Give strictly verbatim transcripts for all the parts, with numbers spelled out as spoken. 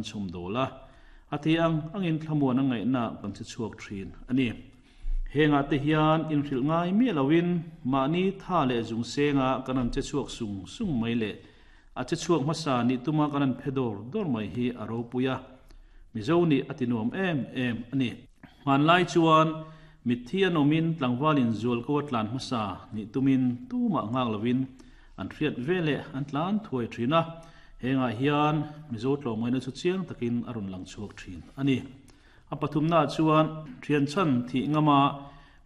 kan chhawm dawl a, a thei ang angin thlamuan a ngaihna kan che chhuak thin a ni. Hengah te hian inhrilh ngai miah loin mahni tha leh zung senga kan han che chhuak sung sung mai leh a che chhuak hmasa nih tuma kan han phe dawr dawr mai hi a ropui a, Mizo nih a ti nuam em em a ni. Hmanlai chuan mitthi an awmin tlangvalin zualko a tlan hmasa nih tumin tumah nghak lovin an hriat veleh an tlan thuai thin a, hengah hian Mizo tlawmngaihna chu chiang takin a rawn lang chhuak thin a ni. A pathumnaah chuan thian chhan thih ngama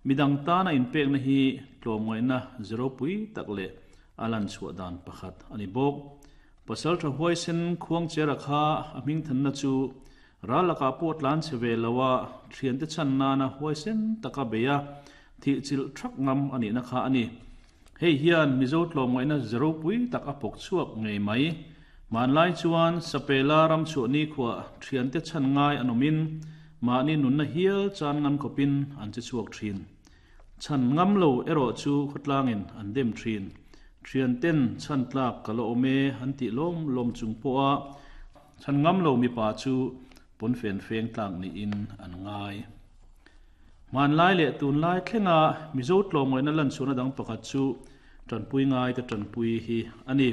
midang tana inpekna hi tlawmngaihna ze ropui tak leh a lan chhuah dan pakhat a ni bawk. Pasal tha huaisen Khuangchera kha a hmingthanna chu ral lakah pawh tlan chhe ve lo a, thiante chhan nana huaisen taka bei a, thih chilh thak ngam a nihna kha a ni. Hei hian Mizo tlawmngaihna ze ropui tak a pawk chhuak ngei mai. Hmanlai chuan Sapela ram chhuah nikhuah thiante chhan ngai an awmin mahni nunna hial chan ngam khawpin an che chhuak thin. Chhan ngam lo erawh chu khawtlangin an dem thin. Thianten chhan tlak ka la awm e an tih lawm lawm chung pawha chhan ngam lo mipa chu pawnfen feng tlak niin an ngai. Hmanlai leh tunlai thlenga Mizo tlawmngaihna lan chhuahna dang pakhat chu tanpui ngai te tanpui hi a ni.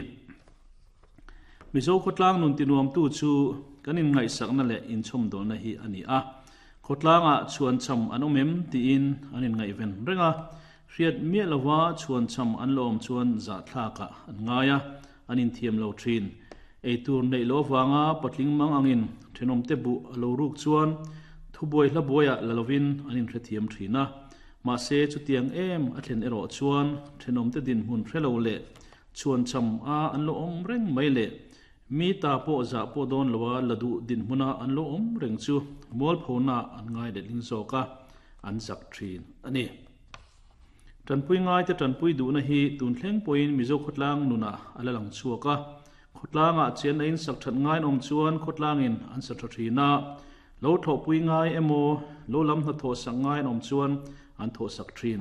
Mizo khawtlang nun tinuamtu chu kan inngaihsakna leh inchhawmdawlna hi a ni a. Khawtlangah chhuancham an awm em tiin an inngaihven reng a, hriat miah lova chhuancham an la awm chuan zahthlakah an ngai a, an inthiam lo thin. Eitur neih loh avanga patling mang angin thenawmte buh a lo ruk chuan thubuai hla buaiah la lovin an inhrethiam thin a. Mahse chutiang em a thlen erawh chuan thenawmte dinhmun hre lo leh chhuancham a an lo awm reng mai leh mi ta pawh zah pawh dawn loa la duh dinhmuna an lo awm reng chu mualphona an ngai letling zawk a, an zak thin a ni. Tanpui ngaite tanpui duhna hi tun thleng pawhin Mizo khawtlang nunah a la lang chhuak a. Khawtlangah chian a insak that ngai an awm chuan khawtlangin an sa tha thin a, lo thawhpui ngai emaw lo lam hnathawh sak ngai an awm chuan an thawhsak thin.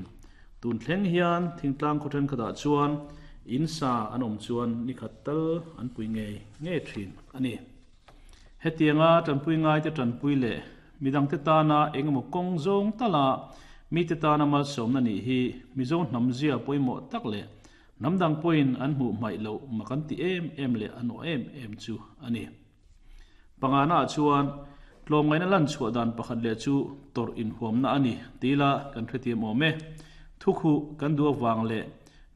Tun thleng hian thingtlang khaw thenkhatah chuan in sa an awm chuan nikhat tal an pui ngei ngei thin a ni. Hetianga tanpui ngaite tanpui leh midangte tana engemaw kawng zawng tala mite tana malsawmna nih hi Mizo hnam zia pawimawh tak leh hnam dang pawhin an hmuh hmaih loh mak an ti em em leh an awh em em chu a ni. Panganaah chuan tlawmngaihna lan chhuah dan pakhat leh chu tawrh inhuamna a ni tila kan hrethiam awm e. Thukhuh kan duh avang leh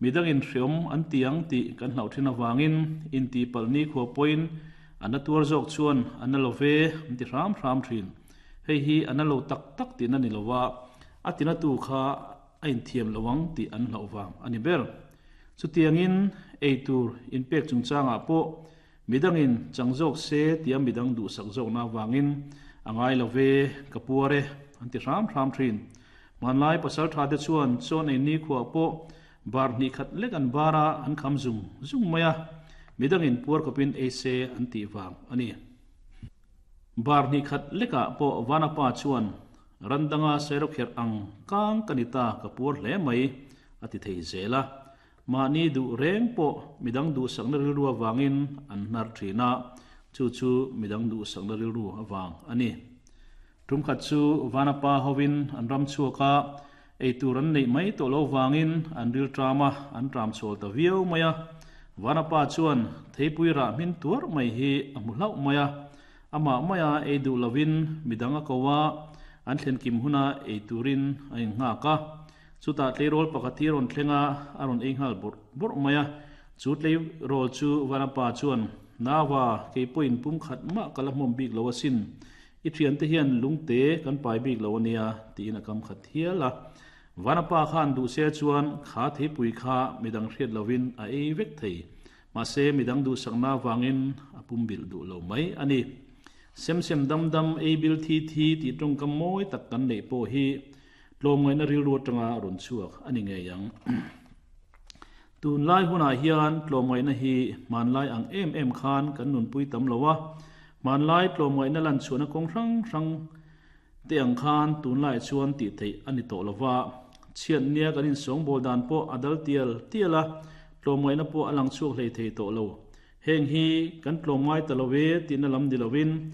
midangin hreawm an ti ang tih kan hlauh thin avangin intihpalh nikhua pawhin a na tuar zawk chuan a na lo ve an ti hram hram thin. Hei hi a na lo tak tak tihna ni lova a tinatu kha a inthiam lo ang tih an hlauh vang a ni ber. Chutiangin eitur inpek chungchangah pawh midangin chang zawk se tia midang duhsak zawkna avangin a ngai lo ve, ka puar e an ti hram hram thin. Hmanlai pasal tha te chuan chawn ei nikhuah pawh bar hnih khat lek an bar a, an kham zung zung mai a, midangin puar kawpin ei se an tih vang a ni. Bar hnih khat lekah pawh Vanapa chuan ran danga sairawkherh ang kang ka ni ta, ka puar hle mai a ti thei zel a. Mahni duh reng pawh midang duhsakna rilru avangin an hnar thin a, chu chu midang duhsakna rilru avang a ni. Tumkhat chu Vanapa hovin an ram chhuak a, eitur an neih mai tawh lo vangin an ril ṭam a, an ṭam chhawl ta viau mai a. Vanapa chuan theipui rah hmin tuar mai hi a hmu hlauh mai a, amah maia ei duh lovin midang a ko a, an thlen kim huna ei turin a innghak a. Chutah tleirawl pakhat hi a rawn thleng a, a rawn ei nghal bawrh bawrh mai a. Chu tleirawl chu Vanapa chuan, Nava, kei pawhin pum khat mah ka la hmawm bik lo asin. I thiante hian lungte kan pai bik lo ania, tiin a kam khat hial a. Vanapa khan duh se chuan kha theipui kha midang hriat lovin a ei vek thei. Mahse midang duhsakna avangin a pumbilh duh lo mai a ni. Sem sem dam dam ei bil thi thi tih tawngkam mawi tak kan neih pawh hi tlawmngaihna rilru atanga rawn chhuak a ni ngei ang. Tunlai hunah hian tlawmngaihna hi hmanlai ang em em khan kan nunpui tam lo a, hmanlai tlawmngaihna lan chhuahna kawng hrang hrang te ang khan tunlaiah chuan tih theih a ni tawh lo va, chhiat nia kan insawngbawl dan pawh a dal tial tial a, tlawmngaihna pawh a lang chhuak hlei thei tawh lo. Heng hi kan tlawmngai ta lo e tihna lam ni lovin